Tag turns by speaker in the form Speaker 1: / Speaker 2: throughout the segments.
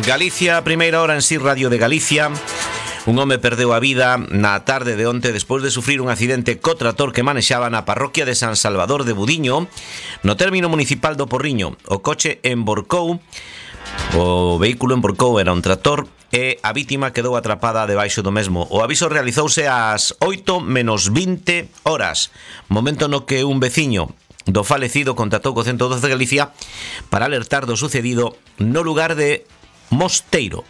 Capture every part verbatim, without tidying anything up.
Speaker 1: Galicia, primeira hora en Si Radio de Galicia. Un home perdeu a vida na tarde de onte despois de sufrir un accidente co trator que manexaba na parroquia de San Salvador de Budiño, no término municipal do Porriño. O coche emborcou, o vehículo emborcou, era un trator, e a vítima quedou atrapada debaixo do mesmo. O aviso realizouse ás oito menos vinte horas, momento no que un veciño do falecido contactou co ciento doce de Galicia para alertar do sucedido no lugar de Mosteiro.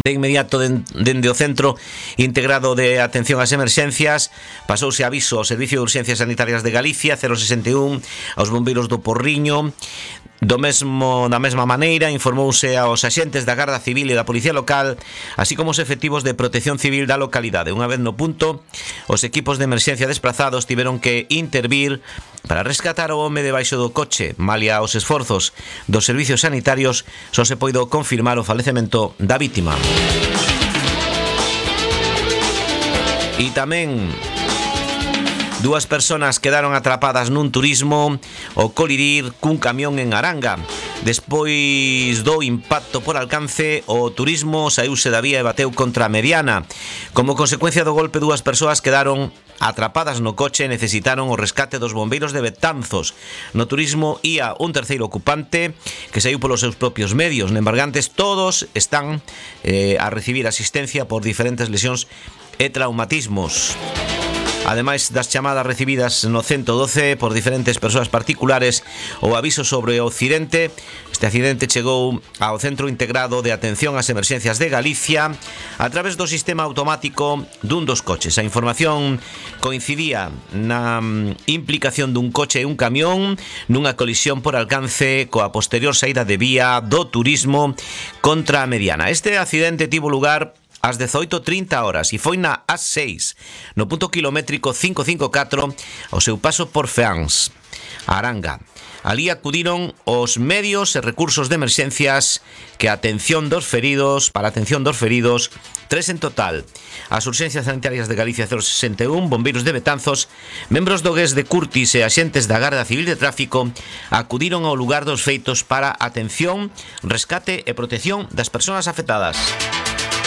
Speaker 1: De inmediato, dende o Centro Integrado de Atención ás Emerxencias, pasouse aviso ao Servicio de Urxencias Sanitarias de Galicia, cero sesenta e un, aos bombeiros do Porriño. Do mesmo, da mesma maneira, informouse aos axentes da Garda Civil e da Policía Local, así como os efectivos de Protección Civil da localidade. Unha vez no punto, os equipos de emerxencia desplazados tiveron que intervir para rescatar o home debaixo do coche. Malia os esforzos dos servicios sanitarios, só se poido confirmar o falecemento da vítima. E tamén dúas persoas quedaron atrapadas nun turismo ao colidir cun camión en Aranga. Despois do impacto por alcance, o turismo saíuse da vía e bateu contra a mediana. Como consecuencia do golpe, dúas persoas quedaron atrapadas no coche e necesitaron o rescate dos bombeiros de Betanzos. No turismo ía un terceiro ocupante que saiu polos seus propios medios. En Embargantes todos están eh, a recibir asistencia por diferentes lesións e traumatismos. Ademais das chamadas recibidas no ciento doce por diferentes persoas particulares, o aviso sobre o accidente. Este accidente chegou ao Centro Integrado de Atención ás Emerxencias de Galicia a través do sistema automático dun dos coches. A información coincidía na implicación dun coche e un camión nunha colisión por alcance coa posterior saída de vía do turismo contra a mediana. Este accidente tivo lugar ás dezoito trinta horas e foi na A seis, no punto kilométrico quinhentos cincuenta e catro, ao seu paso por Feáns, Aranga. Alí acudiron os medios e recursos de emerxencias que a atención dos feridos, para a atención dos feridos, tres en total. As urxencias sanitarias de Galicia cero sesenta e un, bombeiros de Betanzos, membros do G E S de Curtis e axentes da Garda Civil de Tráfico acudiron ao lugar dos feitos para atención, rescate e protección das persoas afectadas.